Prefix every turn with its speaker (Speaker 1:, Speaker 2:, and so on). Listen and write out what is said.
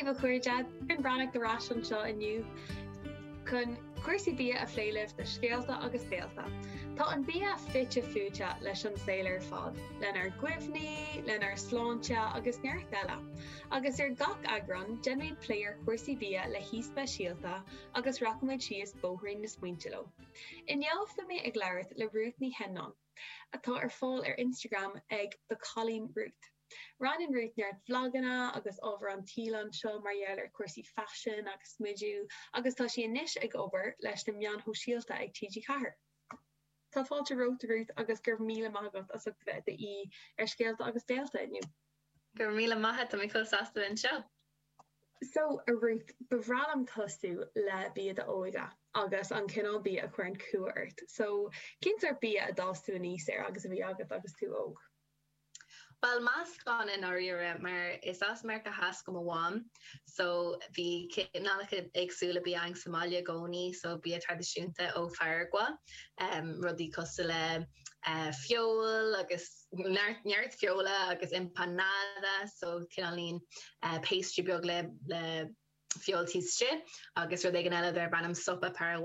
Speaker 1: daoibh a chairde, Doireann Breathnach ar ais anseo inniu chun cúrsaí bia a phlé libh do Scéalta agus Béalta. Tá an bia fite fuaite leis an saol ar fad, lenár gcuimhní, lenár sláinte agus neart eile. Agus ar gach eagrán, déanfaimid plé ar chúrsaí bia le haoi speisialta agus rachaimid síos bóithrín na smaointe leo. Inniu beidh mé ag labhairt le Ruth Ní Sheannáin, atá ar fáil ar Instagram ag The Cailín Ruth. Roinneann Ruth neart vlaganna agus ábhar an tsaoil anseo mar gheall ar chúrsaí faisin agus smidiú agus tá sí anois ag obair leis na meáin shóisialta ag TG4. Tá fáilte romhat Ruth agus go raibh míle maith agat as ucht a bheith i d'aoi ar Scéalta agus Béalta inniu.
Speaker 2: Go raibh míle maith, tá mé chomh sásta bheith anseo.
Speaker 1: So, a Ruth, ba bhreá liom tosú le bia d'óige agus an cineál bia a chuireann cumha ort. So, cén sórt bia a d'fhás tú aníos air agus a bhí agat agus tú óg?
Speaker 2: Bhuel, meascán i ndáiríre, mar is as Meiriceá Theas do mo mham, so bhí cineálacha éagsúla bia againn sa mbaile i gcónaí, so bia traidisiúnta ó Pharagua, rudaí cosúil le feoil agus neart, neart feola agus empanada, so cineáilín pastry beag le, le feoil taobh istigh agus rud éigin eile darb ainm sopa Paraguay.